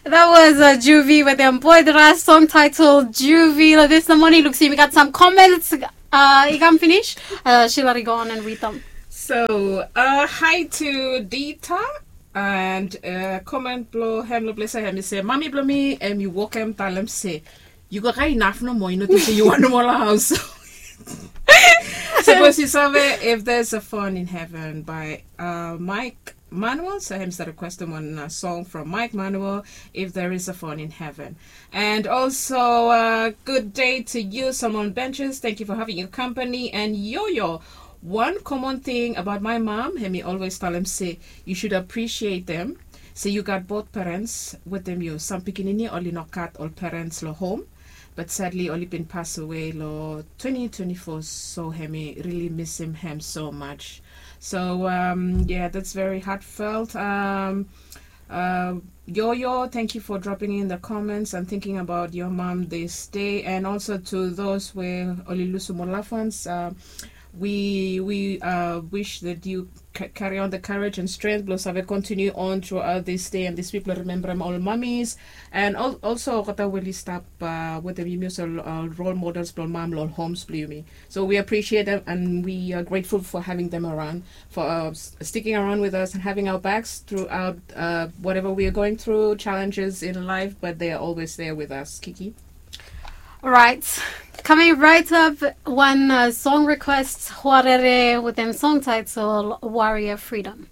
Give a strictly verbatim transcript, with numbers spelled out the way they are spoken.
That was uh, Juvie with them boy the last song titled Juvie. Lo this the morning looks like we got some comments. Uh, i kam finish. Uh, Sheila, go on and read them. So, uh, hi to Dita and uh, comment blo hem lo blesa hem. He say, mami blo mi em yu wokem talem se yu go kai inaf no more, yu no think se yu want no more lo house. Suppose you survey if there's a phone in heaven by uh, Mike Manuel. So him start requesting one uh, song from Mike Manuel, if there is a phone in heaven. And also, uh, good day to you, Solomon Benches. Thank you for having your company. And Yo-Yo, one common thing about my mom, hemi always tell him say you should appreciate them. So you got both parents with them. You some pikinini only not got all parents lo home. But sadly, oli bin pass away lo twenty twenty-four, so hemi really miss him, him so much. So um, yeah, that's very heartfelt. Um, uh, Yo-Yo, thank you for dropping in the comments and thinking about your mom this day, and also to those where oli lusu mo loved ones. Uh, we we uh, wish that you ca- carry on the courage and strength blo save continue on throughout this day and this week blo remember all mummies and al- also kata weli stap uh, with the mutual uh, role models blo mam lo homes blo yumi. So we appreciate them and we are grateful for having them around, for uh, s- sticking around with us and having our backs throughout uh, whatever we are going through, challenges in life, but they are always there with us. Kiki. Right. Coming right up, one uh, song request, Huarere, with them song title Warrior Freedom.